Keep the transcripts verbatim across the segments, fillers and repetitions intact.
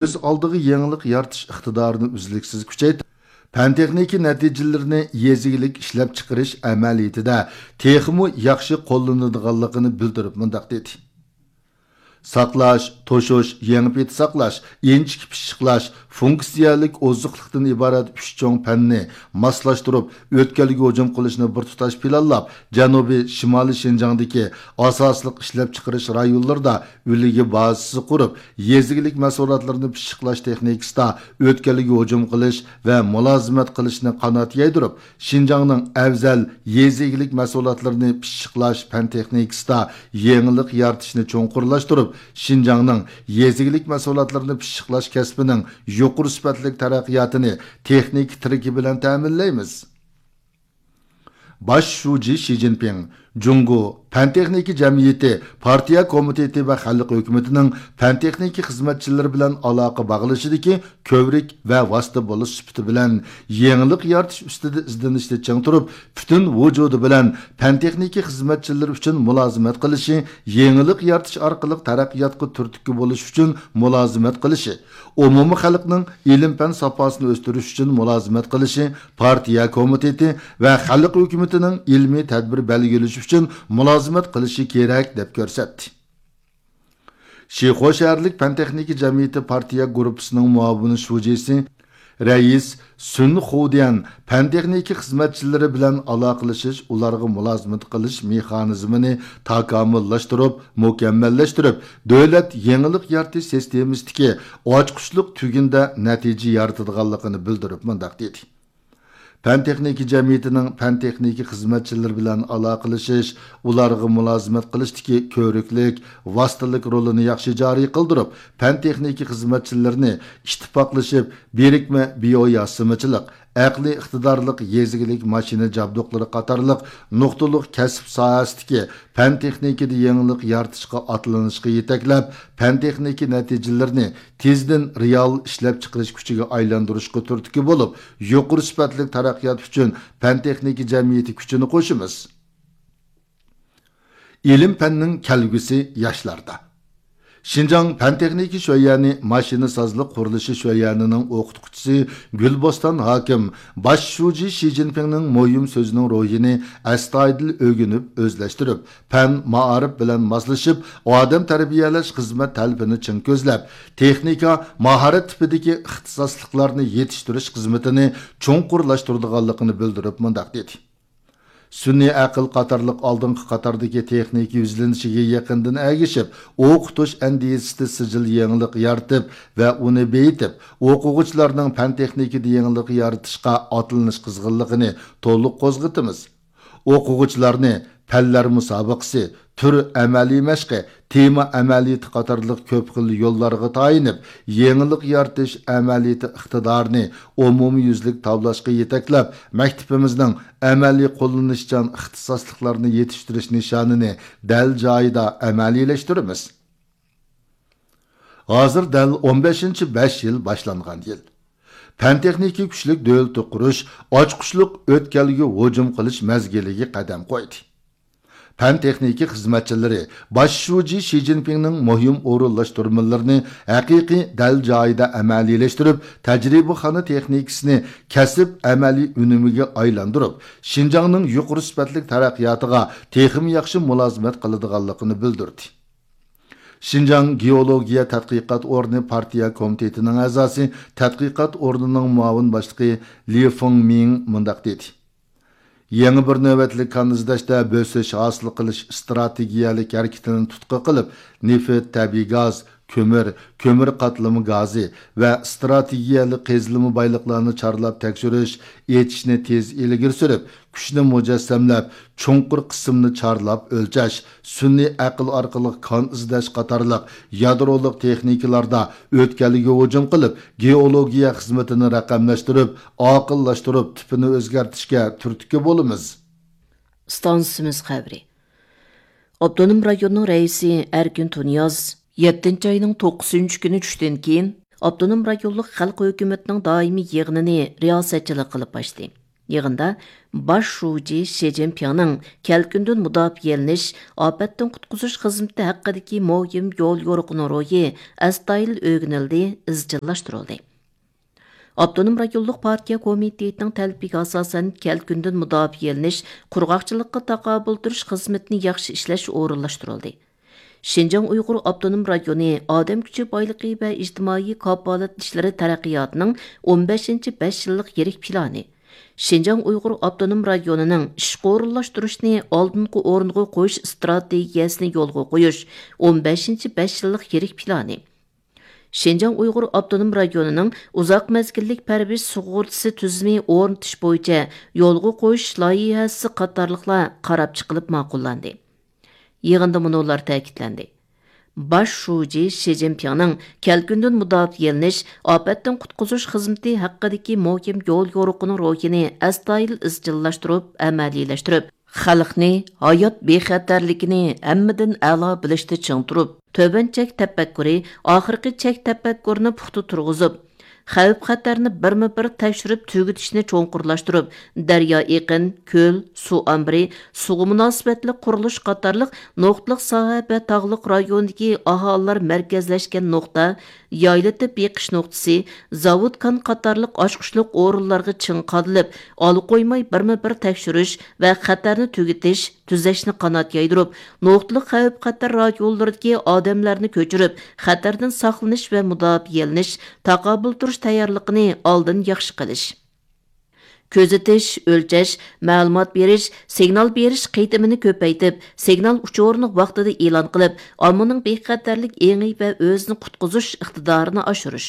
كۆز ئالدىغا يېڭىلىق يارىتىش ئىقتىدارىنى ئۈزلۈكسىز كۈچەيتىپ، پەن-تېخنىكا نەتىجىلىرىنى يېزا ئىگىلىك ئىشلەپچىقىرىش ئەمەلىيىتىدە تېخىمۇ ياخشى قوللىنىدىغانلىقىنى بىلدۈرۈپ مۇنداق دېدى: ساقلاش، توشۇش، يېڭى پېتى ساقلاش، ئىنچىكە پىششىقلاش، فۇنكسىيەلىك ئوزۇقلۇقتىن ئىبارەت ئۈچ چوڭ پەننى ماسلاشتۇرۇپ، ئۆتكەلگە ھۇجۇم قىلىشنى بىر تۇتاش پىلانلاپ، جەنۇبىي، شىمالىي شىنجاڭدىكى ئاساسلىق ئىشلەپچىقىرىش رايونلىرىدا ئۈلگە بازىسى قۇرۇپ، يېزا ئىگىلىك مەھسۇلاتلىرىنى پىششىقلاش تېخنىكىسىدا ئۆتكەلگە ھۇجۇم قىلىش ۋە مۇلازىمەت قىلىشنى قانات يايدۇرۇپ، شىنجاڭنىڭ ئەۋزەل يېزا ئىگىلىك مەھسۇلاتلىرىنى پىششىقلاش پەن تېخنىكىسىدا يېڭىلىق يارىتىشنى چوڭقۇرلاشتۇرۇپ، شىنجاڭنىڭ يېزا ئىگىلىك مەھسۇلاتلىرىنى پىششىقلاش كەسپىنىڭ يۇقىرى سۈپەتلىك تەرەققىياتىنى تېخنىكا تىرىكى بىلەن تەمىنلەيمىز. باش شۇجى شى جىنپىڭ جۇڭگو پەن-تېخنىكا جەمئىيىتى پارتىيە كومىتېتى ۋە خەلق ھۆكۈمىتىنىڭ پەن-تېخنىكا خىزمەتچىلىرى بىلەن ئالاقە باغلىشىدىكى كۆۋرۈك ۋە ۋاسىتە بولۇش سۈپىتى بىلەن، يېڭىلىق يارىتىش ئۈستىدە ئىزدىنىشتە چىڭ تۇرۇپ، پۈتۈن ۋۇجۇدى بىلەن پەن-تېخنىكا خىزمەتچىلىرى ئۈچۈن مۇلازىمەت قىلىشى، يېڭىلىق يارىتىش ئارقىلىق تەرەققىياتقا تۈرتكە بولۇش ئۈچۈن مۇلازىمەت قىلىشى، ئومۇمىي خەلقنىڭ ئىلىم-پەن ساپاسىنى ئۆستۈرۈش ئۈچۈن مۇلازىمەت قىلىشى، پارتىيە كومىتېتى ۋە خەلق ھۆكۈمىتىنىڭ ئىلمىي تەدبىر بەلگىلىشى ئۈچۈن مۇلازىمەت قىلىشى كېرەك، دەپ كۆرسەتتى. شىخۇا شەھەرلىك پەن-تېخنىكا جەمئىيىتى پارتىيە گۇرۇپپىسىنىڭ مۇئاۋىن شۇجىسى، رەئىس سۈن خۇديەن پەن-تېخنىكا خىزمەتچىلىرى بىلەن ئالاقىلىشىش، ئۇلارغا مۇلازىمەت قىلىش مېخانىزمىنى تاكامۇللاشتۇرۇپ، مۇكەممەللەشتۈرۈپ، دۆلەت يېڭىلىق يارىتىش سىستېمىسىدىكى ئاچقۇچلۇق تۈگۈندە نەتىجە يارىتىدىغانلىقىنى بىلدۈرۈپ مۇنداق دېدى: پەن-تېخنىكا جەمئىيىتىنىڭ پەن-تېخنىكا خىزمەتچىلىرى بىلەن ئالاقىلىشىش، ئۇلارغا مۇلازىمەت قىلىشتىكى كۆۋرۈكلۈك، ۋاسىتىلىك رولىنى ياخشى جارى قىلدۇرۇپ، پەن-تېخنىكا خىزمەتچىلىرىنى ئىتتىپاقلىشىپ، بىرىكمە بىئوياسىمىچىلىق، ئەقلىي ئىقتىدارلىق يېزا ئىگىلىك ماشىنا جابدۇقلىرى قاتارلىق نۇقتىلىق كەسىپ ساھەسىدىكى پەن-تېخنىكىدا يېڭىلىق يارىتىشقا ئاتلىنىشقا يېتەكلەپ، پەن-تېخنىكا نەتىجىلىرىنى تېزدىن رېئال ئىشلەپچىقىرىش كۈچىگە ئايلاندۇرۇشقا تۈرتكە بولۇپ، يۇقىرى سۈپەتلىك تەرەققىيات ئۈچۈن پەن-تېخنىكا جەمئىيىتى كۈچىنى قوشىمىز. ئىلىم-پەننىڭ كەلگۈسى ياشلاردا. شىنجاڭ پەن-تېخنىكا شۆيەنى ماشىنىسازلىق قۇرۇلۇشى شۆيەنىنىڭ ئوقۇتقۇچىسى گۈلبوستان ھاكىم باش شۇجى شى جىنپىڭنىڭ مۇھىم سۆزىنىڭ روھىنى ئەستايىدىل ئۆگىنىپ، ئۆزلەشتۈرۈپ، پەن، مائارىپ بىلەن ماسلىشىپ، ئادەم تەربىيەلەش خىزمەت تەلىپىنى چىڭ كۆزلەپ، تېخنىكا، ماھارەت تىپىدىكى ئىختىساسلىقلارنى يېتىشتۈرۈش خىزمىتىنى چوڭقۇرلاشتۇرىدىغانلىقىنى بىلدۈرۈپ مۇنداق دېدى: سۈنئىي ئەقىل قاتارلىق ئالدىنقى قاتاردىكى تېخنىكا يۈزلىنىشىگە يېقىندىن ئەگىشىپ، ئوقۇتۇش ئەندىزىسىدە سىجىل يېڭىلىق يارىتىپ ۋە ئۇنى بېيىتىپ، ئوقۇغۇچىلارنىڭ پەن-تېخنىكىدا يېڭىلىق يارىتىشقا ئاتلىنىش قىزغىنلىقىنى تولۇق قوزغىتىمىز. ئوقۇغۇچىلارنى پەنلەر مۇسابىقىسى، تۈر ئەمەلىي مەشقى، تېما ئەمەلىيىتى قاتارلىق كۆپ خىل يوللارغا تايىنىپ، يېڭىلىق يارىتىش ئەمەلىيىتى ئىقتىدارىنى ئومۇميۈزلۈك تاۋلاشقا يېتەكلەپ، مەكتىپىمىزنىڭ ئەمەلىي قوللىنىشچان ئىختىساسلىقلارنى يېتىشتۈرۈش نىشانىنى دەل جايىدا ئەمەلىيلەشتۈرىمىز. ھازىر دەل ئون بەشىنچى بەش يىل باشلانغان يىل. پەن-تېخنىكا كۈچلۈك دۆلىتى قۇرۇش ئاچقۇچلۇق ئۆتكەلگە ھۇجۇم قىلىش مەزگىلىگە قەدەم قويدى. پەن-تېخنىكا خىزمەتچىلىرى باش شۇجى شى جىنپىڭنىڭ مۇھىم ئورۇنلاشتۇرمىلىرىنى ھەقىقىي دەل جايىدا ئەمەلىيلەشتۈرۈپ، تەجرىبىخانا تېخنىكىسىنى كەسىپ ئەمەلىي ئۈنۈمىگە ئايلاندۇرۇپ، شىنجاڭنىڭ يۇقىرى سۈپەتلىك تەرەققىياتىغا تېخىمۇ ياخشى مۇلازىمەت قىلىدىغانلىقىنى بىلدۈردى. شىنجاڭ گېئولوگىيە تەتقىقات ئورنى پارتىيە كومىتېتىنىڭ ئەزاسى، تەتقىقات ئورنىنىڭ مۇئاۋىن باشلىقى لى فېڭمىڭ مۇنداق دېدى: يېڭى بىر نۆۋەتلىك كان ئىزدەشتە بۆسۈش ھاسىل قىلىش ئىستراتېگىيەلىك ھەرىكىتىنى تۇتقا قىلىپ، نېفىت، تەبىئىي گاز، كۆمۈر، كۆمۈر قاتلىمى گازى ۋە ئىستراتېگىيەلىك قېزىلما بايلىقلارنى چارلاپ تەكشۈرۈش، ئېچىشنى تېز ئىلگىرى سۈرۈپ، كۈچنى مۇجەسسەملەپ، چوڭقۇر قىسىمنى چارلاپ ئۆلچەش، سۈنئىي ئەقىل ئارقىلىق كان ئىزدەش قاتارلىق يادرولۇق تېخنىكىلاردا ئۆتكەلگە ھۇجۇم قىلىپ، گېئولوگىيە خىزمىتىنى رەقەملەشتۈرۈپ، ئاقىللاشتۇرۇپ، تىپىنى ئۆزگەرتىشكە تۈرتكە بولىمىز. ئىستانسىمىز خەۋىرى. ئاپتونوم رايوننىڭ رەئىسى ئەركىن تۇنىياز يەتتىنچى ئاينىڭ توققۇزىنچى كۈنى چۈشتىن كېيىن ئاپتونوم رايونلۇق خەلق ھۆكۈمىتىنىڭ دائىمىي يىغىنىنى رىياسەتچىلىك قىلىپ ئاچتى. يىغىندا باش شۇجى شى جىنپىڭنىڭ كەلكۈندىن مۇداپىئەلىنىش، ئاپەتتىن قۇتقۇزۇش خىزمىتى ھەققىدىكى مۇھىم يول يورۇقىنىڭ روھى ئەستايىدىل ئۆگىنىلدى، ئىزچىللاشتۇرۇلدى. ئاپتونوم رايونلۇق پارتىيە كومىتېتىنىڭ تەلىپىگە ئاساسەن، كەلكۈندىن مۇداپىئەلىنىش، قۇرغاقچىلىققا تاقابىل تۇرۇش خىزمىتىنى ياخشى ئىشلەش ئورۇنلاشتۇرۇلدى. شىنجاڭ ئۇيغۇر ئاپتونوم رايونى ئادەم كۈچى بايلىقى ۋە ئىجتىمائىي كاپالەت ئىشلىرى تەرەققىياتىنىڭ ئون بەشىنچى بەش يىللىق يىرىك پىلانى، شىنجاڭ ئۇيغۇر ئاپتونوم رايونىنىڭ ئىشقا ئورۇنلاشتۇرۇشنى ئالدىنقى ئورۇنغا قويۇش ئىستراتېگىيەسىنى يولغا قويۇش ئون بەشىنچى بەش يىللىق يىرىك پىلانى، شىنجاڭ ئۇيغۇر ئاپتونوم رايونىنىڭ ئۇزاق مەزگىللىك پەرۋىش سۇغۇرتىسى تۈزۈمى ئورنىتىش بويىچە يولغا قويۇش لايىھەسى قاتارلىقلار قاراپ چىقىلىپ ماقۇللاندى. يىغىندا مۇنۇلار تەكىتلەندى: باش شۇجى شى جىنپىڭنىڭ كەلكۈندىن مۇداپىئەلىنىش، ئاپەتتىن قۇتقۇزۇش خىزمىتى ھەققىدىكى مۇھىم يول يورۇقىنىڭ روھىنى ئەستايىدىل ئىزچىللاشتۇرۇپ ئەمەلىيلەشتۈرۈپ، خەلقنى ھايات بىخەتەرلىكىنى ھەممىدىن ئەلا بىلىشتە چىڭ تۇرۇپ، تۆۋەن چەك تەپەككۇرى ئاخىرقى چەك تەپەككۇرىنى پۇختا تۇرغۇزۇپ، خەۋپ-خەتەرنى بىرمۇ بىر تەكشۈرۈپ تۈگىتىشنى چوڭقۇرلاشتۇرۇپ، دەريا ئېقىن، كۆل، سۇ ئامبىرى، سۇغا مۇناسىۋەتلىك قۇرۇلۇش قاتارلىق نۇقتىلىق ساھە ۋە تاغلىق رايوندىكى ئاھالىلەر مەركەزلەشكەن نۇقتا، يايلىتىپ بېقىش نۇقتىسى، زاۋۇت كان قاتارلىق ئاچقۇچلۇق ئورۇنلارغا چىڭ قادىلىپ، ئالا قويماي بىرمۇ بىر تەكشۈرۈش ۋە خەتەرنى تۈگىتىش، تۈزەشنى قانات يايدۇرۇپ، نۇقتىلىق خەۋپ-خەتەر رايونلىرىدىكى ئادەملەرنى كۆچۈرۈپ، خەتەردىن ساقلىنىش ۋە مۇداپىئەلىنىش، تاقابىل تۇرۇش تەييارلىقىنى ئالدىن ياخشى قىلىش. كۆزىتىش، ئۆلچەش، مەلۇمات بېرىش، سىگنال بېرىش قېتىمىنى كۆپەيتىپ، سىگنال ئۇچۇرىنى ۋاقتىدا ئېلان قىلىپ، ئاممىنىڭ بىخەتەرلىك ئېڭى ۋە ئۆزىنى قۇتقۇزۇش ئىقتىدارىنى ئاشۇرۇش.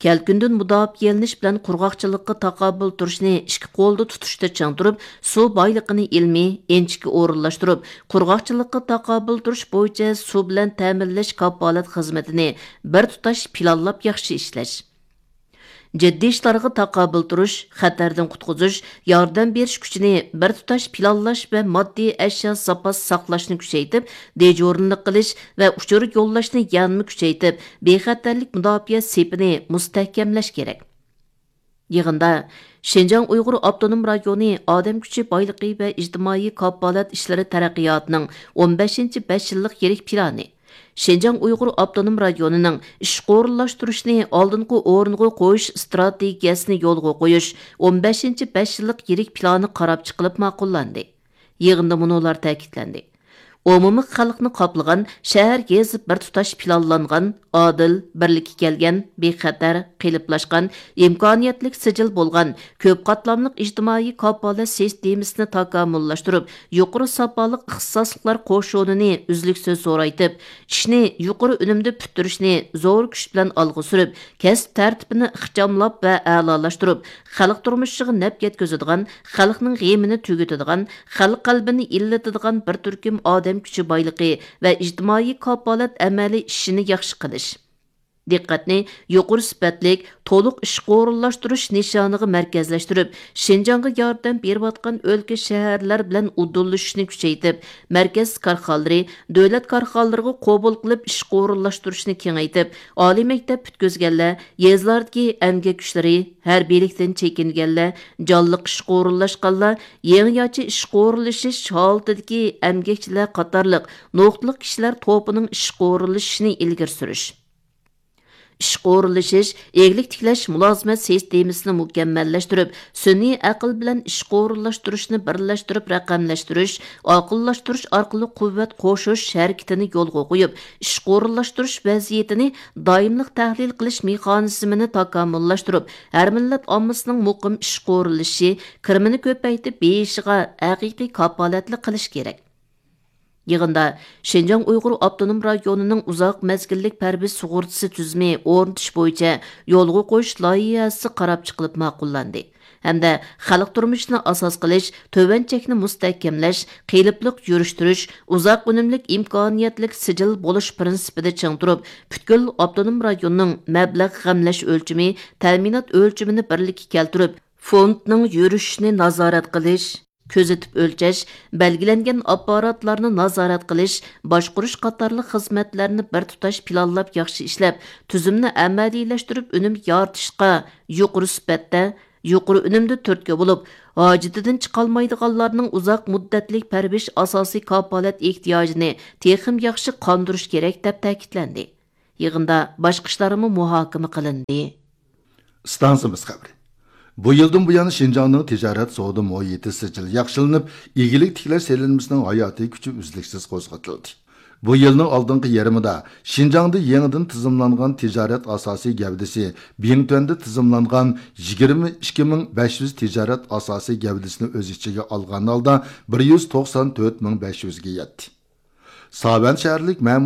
كەلكۈندىن مۇداپىئەلىنىش بىلەن قۇرغاقچىلىققا تاقابىل تۇرۇشنى ئىككى قولدا تۇتۇشتا چىڭ تۇرۇپ، سۇ بايلىقىنى ئىلمىي، ئىنچىكە ئورۇنلاشتۇرۇپ، قۇرغاقچىلىققا تاقابىل تۇرۇش بويىچە سۇ بىلەن تەمىنلەش كاپالەت خىزمىتىنى بىر تۇتاش پىلانلاپ ياخشى ئىشلەش. جىددىي ئىشلارغا تاقابىل تۇرۇش، خەتەردىن قۇتقۇزۇش، ياردەم بېرىش كۈچىنى بىر تۇتاش پىلانلاش ۋە ماددىي ئەشيا زاپاس ساقلاشنى كۈچەيتىپ، دېجۇرنىلىق قىلىش ۋە ئۇچۇر يوللاشنى يەنىمۇ كۈچەيتىپ، بىخەتەرلىك مۇداپىئە سېپىنى مۇستەھكەملەش كېرەك. يىغىندا شىنجاڭ ئۇيغۇر ئاپتونوم رايونى ئادەم كۈچى بايلىقى ۋە ئىجتىمائىي كاپالەت ئىشلىرى تەرەققىياتىنىڭ ئون بەشىنچى بەش يىللىق يىرىك پىلانى، شىنجاڭ ئۇيغۇر ئاپتونوم رايونىنىڭ ئىشقا ئورۇنلاشتۇرۇشنى ئالدىنقى ئورۇنغا قويۇش ئىستراتېگىيەسىنى يولغا قويۇش ئون بەشىنچى بەش يىللىق يىرىك پىلانى قاراپ چىقىلىپ ماقۇللاندى. يىغىندا مۇنۇلار تەكىتلەندى: ئومۇمىي خەلقنى قاپلىغان شەھەر يېزا بىر تۇتاش پىلانلانغان، ئادىل، بىرلىككە كەلگەن، بىخەتەر، قېلىپلاشقان، ئىمكانىيەتلىك سىجىل بولغان، كۆپ قاتلاملىق ئىجتىمائىي كاپالەت سىستېمىسىنى تاكامۇللاشتۇرۇپ، يۇقىرى ساپالىق ئىختىساسلىقلار قوشۇنىنى ئۈزلۈكسىز زورايتىپ، ئىشنى يۇقىرى ئۈنۈمدە پۈتتۈرۈشنى زور كۈچ بىلەن ئالغا سۈرۈپ، كەسىپ تەرتىپىنى ئىخچاملاپ ۋە ئەلالاشتۇرۇپ، خەلق تۇرمۇشىغا نەپ يەتكۈزىدىغان، خەلقنىڭ غېمىنى تۈگىتىدىغان، خەلق قەلبىنى ئىللىتىدىغان بىر تۈركۈم ئادەم كۈچى بايلىقى ۋە ئىجتىمائىي كاپالەت ئەمەلىي ئىشىنى ياخشى قىلىش. دىققەتنى يۇقىرى سۈپەتلىك، تولۇق ئىشقا ئورۇنلاشتۇرۇش نىشانىغا مەركەزلەشتۈرۈپ، شىنجاڭغا ياردەم بېرىۋاتقان ئۆلكە، شەھەرلەر بىلەن ئۇدۇللىشىشنى كۈچەيتىپ، مەركەز كارخانىلىرى، دۆلەت كارخانىلىرىغا قوبۇل قىلىپ ئىشقا ئورۇنلاشتۇرۇشنى كېڭەيتىپ، ئالىي مەكتەپ پۈتكۈزگەنلەر، يېزىلاردىكى ئەمگەك كۈچلىرى، ھەربىيلىكتىن چېكىنگەنلەر، جانلىق ئىشقا ئورۇنلاشقانلار، يېڭىچە ئىشقا ئورۇنلىشىش ھالىتىدىكى ئەمگەكچىلەر قاتارلىق نۇقتىلىق كىشىلەر توپىنىڭ ئىشقا ئورۇنلىشىشىنى ئىلگىرى سۈرۈش. ئىشقا ئورۇنلىشىش، ئىگىلىك تىكلەش مۇلازىمەت سىستېمىسىنى مۇكەممەللەشتۈرۈپ، سۈنئىي ئەقىل بىلەن ئىشقا ئورۇنلاشتۇرۇشنى بىرلەشتۈرۈپ رەقەملەشتۈرۈش، ئاقىللاشتۇرۇش ئارقىلىق قۇۋۋەت قوشۇش ھەرىكىتىنى يولغا قويۇپ، ئىشقا ئورۇنلاشتۇرۇش ۋەزىيىتىنى دائىملىق تەھلىل قىلىش مېخانىزمىنى تاكامۇللاشتۇرۇپ، ھەر مىللەت ئاممىسىنىڭ مۇقىم ئىشقا ئورۇنلىشىشى، كىرىمىنى كۆپەيتىپ بېيىشىغا ھەقىقىي كاپالەتلىك قىلىش كېرەك. يىغىندا شىنجاڭ ئۇيغۇر ئاپتونوم رايونىنىڭ ئۇزاق مەزگىللىك پەرۋىش سۇغۇرتىسى تۈزۈمى ئورنىتىش بويىچە يولغا قويۇش لايىھەسى قاراپ چىقىلىپ ماقۇللاندى ھەمدە خەلق تۇرمۇشىنى ئاساس قىلىش، تۆۋەن چەكنى مۇستەھكەملەش، قېلىپلىق يۈرۈشتۈرۈش، ئۇزاق ئۈنۈملۈك ئىمكانىيەتلىك سىجىل بولۇش پىرىنسىپىدا چىڭ تۇرۇپ، پۈتكۈل ئاپتونوم رايوننىڭ مەبلەغ غەملەش ئۆلچىمى، تەمىنات ئۆلچىمىنى بىرلىككە كەلتۈرۈپ، فوندنىڭ يۈرۈشۈشىنى نازارەت قىلىش، كۆزىتىپ ئۆلچەش، بەلگىلەنگەن ئاپپاراتلارنى نازارەت قىلىش، باشقۇرۇش قاتارلىق خىزمەتلەرنى بىر تۇتاش پىلانلاپ ياخشى ئىشلەپ، تۈزۈمنى ئەمەلىيلەشتۈرۈپ ئۈنۈم يارىتىشقا يۇقىرى سۈپەتتە، يۇقىرى ئۈنۈمدە تۈرتكە بولۇپ، ھاجىتىدىن چىقالمايدىغانلارنىڭ ئۇزاق مۇددەتلىك پەرۋىش ئاساسىي كاپالەت ئېھتىياجىنى تېخىمۇ ياخشى قاندۇرۇش كېرەك، دەپ تەكىتلەندى. يىغىندا باشقا ئىشلارمۇ مۇھاكىمە قىلىندى. ئىستانسىمىز خەۋىرى. بۇ يىلدىن بۇيان شىنجاڭنىڭ تىجارەت سودا مۇھىتى سىجىل ياخشىلىنىپ، ئىگىلىك تىكلەش سېلىنمىسىنىڭ ھاياتىي كۈچى ئۈزلۈكسىز قوزغىتىلدى. بۇ يىلنىڭ ئالدىنقى يېرىمىدا شىنجاڭدا يېڭىدىن تىزىملانغان تىجارەت ئاساسىي گەۋدىسى، بىڭتۈەندە تىزىملانغان يىگىرمە ئىككى مىڭ بەش يۈز تىجارەت ئاساسىي گەۋدىسىنى ئۆز ئىچىگە ئالغان ھالدا، بىر يۈز توقسان تۆت مىڭ بەش يۈزگە يەتتى. ساۋەن شەھەرلىك مەمۇرىي